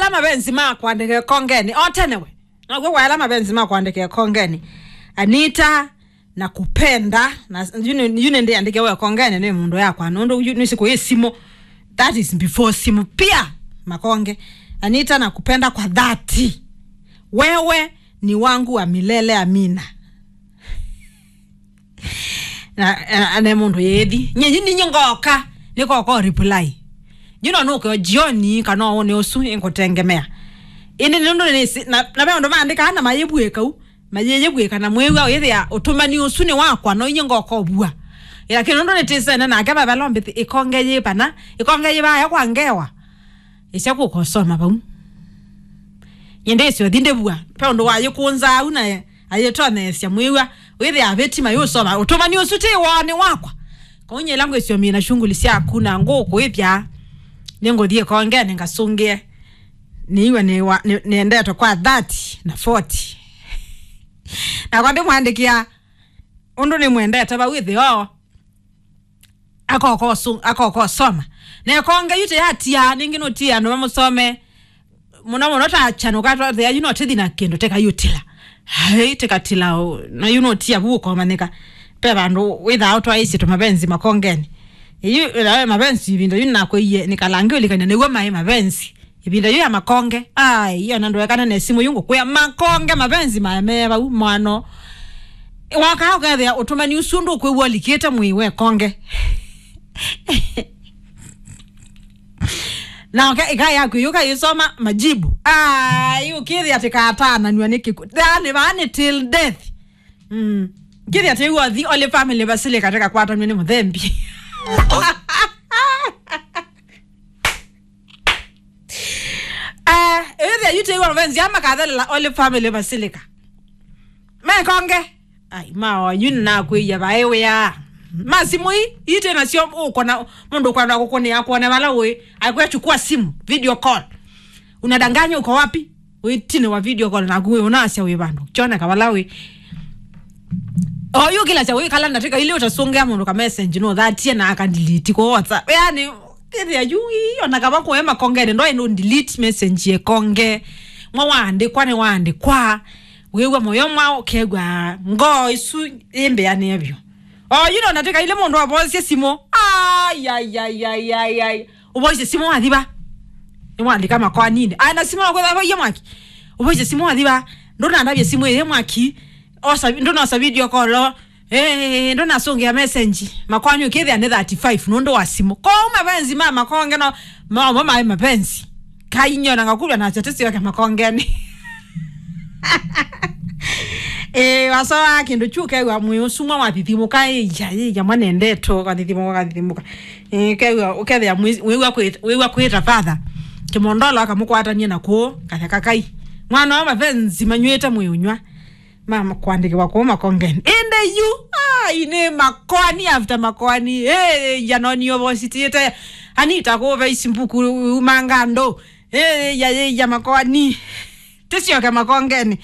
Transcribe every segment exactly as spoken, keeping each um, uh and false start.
Ala mapenzi ma kwandĩka ĩkongeni, o tene we. Nakw'o kwa ala mapenzi ma kwandĩka ĩkongeni. Anita, nakupenda, na yu nĩ, yu nĩndĩandĩke we ĩkongeni nĩ mũndũ yakwa, nũndũ yu nĩ siku ĩ simũ. That is before simũ. Pia, makonge. Anita, nakupenda kwa dhati. Wewe ni wangu wa milele, amina. Na, na, na mũndũ yĩthi. Nye, nye, nye ngoka, nĩkoka reply. You know, nũke o jioni, kana ũnĩ ũsu, ĩngũtengemea. Ĩndĩ nũndũ nĩsĩ, na, na ve ũndũ maandĩkaa na mayĩvuĩka u, mayĩyĩvuĩka na mwĩw'a ũyĩthĩa ũtũmani ũsu nĩ wakwa, no inye ngoka ũvua. Lakini nũndũ nĩtĩsene nake vavelo mbithi, ĩkonge yĩ pana, ĩkonge yĩ vaya kwa ngewa. Ĩsya kũkosoma vau. Nyendesyo thi ndĩvua, ve ũndũ wayĩkũnza au na ayĩtoneesya mwĩw'a, wĩthĩa avĩti mayũsoma, ũtũmani ũsu ti woo nĩ wakwa. Kau nyie ĩla ngwĩsyo mina shughuli syaku na ngũkũĩthya, nĩngũthiĩ ĩkongeni ngasũngĩe. Nĩiwe nĩ wa, nĩ, nĩendetwe kwa thirty na forty. Nakwa ndĩmwandĩkĩa ũndũ nĩmwendete vau ĩthĩoo. Akokosu-, akokosoma. Na ĩkonge yu tĩyatia, nĩngĩ nũtie andũ mamũsome. Mũno mũno ta chanũka twathea yu no tĩthi na kĩndũ teka yutila. Hai, tĩkatila o, na yu nũtia vu ũkomanyĩka. Pe vandũ wĩthaa ũtwaĩsye tũmapenzi makongeni. Yu, nawe mapenzi ĩvinda yu nakwĩie, nĩ kalangi ũlikany'a nĩw'o maĩ mapenzi. Ĩvinda yu ya makonge. Ai, iyo na ndũekane na simũ yu ngũkwĩa. Makonge mapenzi mae me vau, mwano. Woka ũkethĩa ũtũmani ũsu ndũkwĩw'a ũlikĩte mwĩĩ we konge. Na oke, ĩka yaku yũka yĩsoma majibu. Ai, ũkĩthĩa atĩ katananw'a nĩ kĩku. Yaani, vaa nĩ till death. Mm. Kĩthĩa tĩw'o thi Holy Family Basilica tĩkakwatanw'a nĩ mũthembi. Eh, ĩthĩa yu tĩw'o mapenzi ama kathelela Holy Family Basilica. Mekonge. Ai, ma wanyu nĩnakwĩia vaĩ wĩa. Ma simũ ii, ii twĩ nasyo ũkona, mũndũ ũkwenda kũkũnĩa kuone vala ũĩ. Akwĩa chukua simu, video call. Unadanganya uko wapi? Wĩ tine wa video call naku wĩ ũnasya wĩ vandũ. Kyoneka vala wĩ. Oyu kĩla kya wĩ kala ndatĩka ilĩ ũtasũngĩa mũndũ ka message no thatie na aka delete kwa WhatsApp. Yaani, ĩthĩa yu ii, ona kava kũe makongeni, ndwaĩ no delete message yekonge. Mwa waandĩkwa nĩ waandĩkwa. Wĩw'a mũyo mwa ũkew'a ngoo isu yĩmbĩanĩe vyũ. O, you know, natĩka ile mũndũ avoisye simũ. Ai, ai, ai, ai, ai, ai. Ũvoisye simũ wathiva. Nĩwalika makoaninĩ. Ai, na simũ nakwĩtha avoie mwaki. Ũvoisye simũ wathiva. Ndũnandavye simũ ĩyĩ mwaki. Osa, ndũnosa video call. Eh, ndũnasũngĩa message. Makoani ũkĩthĩa nĩ thirty-five nũndũ wa simũ. Kwa mapenzi ma makonge no, mo, mo maĩ mapenzi. Kainyona ngakuvya na chete sioke makongeni. Eh, wasoa kĩndũ kyu kew'a mwĩĩ ũsu mwa wathithimũka, ĩya, ĩya, mwanendetwo, kathithimũka, kathithimũka. Eh, kew'a, ũkethĩa mwĩ-, wĩw'a kwĩ-, wĩw'a kwĩta father. Kĩmondolo akamũkwatania na kũũ, katheka kai. Mwana wa mapenzi manywĩte mwĩĩ ũnyw'a. Mama kwandĩkĩwa kũũ makongeni. Ĩndĩ yu, ai, nĩ makoani after makoani. Eh, ya noni ovositĩte. Anita kũũ Facebook umanga andũ. Eh, ya, ya, ya makoani. Tĩsyoke makongeni.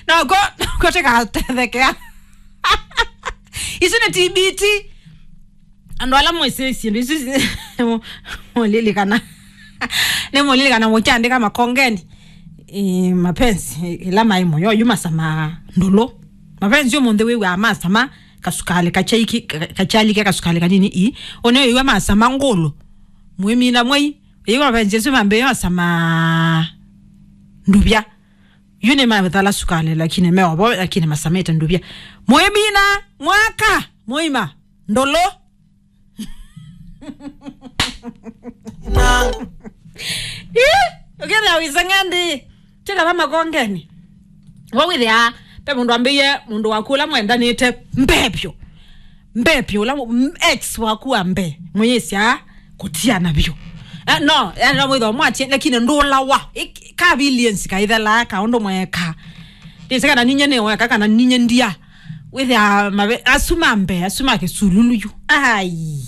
Noko, noko tĩkatethekea. Isu nĩ T B T. Andũ ala mwĩsĩ syĩndũ isu, mũlilikana. Nĩ mũlilikana mũkyandĩka makongeni. Eh, mapenzi, ĩla maĩ mũyo, yu masama ndũlũ. Mapenzi ũmũnthĩ wĩw'aa masama, kasukalĩ kachaiki, ka-, kachalike kasukalĩ kanini ii. Ũnĩ wĩw'a masama ngũlũ. Mwĩmina mwei, wĩw'a mapenzi asu mambĩĩa masama nduvya. Yu nĩ mathala sukalĩ, lakini me ovo, lakini masamĩte nduvya. Mwĩmina, mwaka, mũima, ndũlũ. Ĩ, ũkĩthĩa wĩseng'endi, tĩkava makongeni. Wa wĩthĩa, pe mũndũ ambĩie mũndũ waku ũla mwendanĩte mbee vyũ. Mbee vyũ, ũla mũ-, m-, ex waku wa mbee, mũyĩsya kũtiana vyũ. Eh, no, yani, no mwĩthwa mwatie, lakini ndũlawa. Ik-, ka billions kaithelaa, ka ũndũ mweka. Ndĩsĩ kana ninye nĩ weka, kana ninye ndia. Wĩthĩa mabe-, asu ma mbee, asu ma kĩsululu yu. Ai.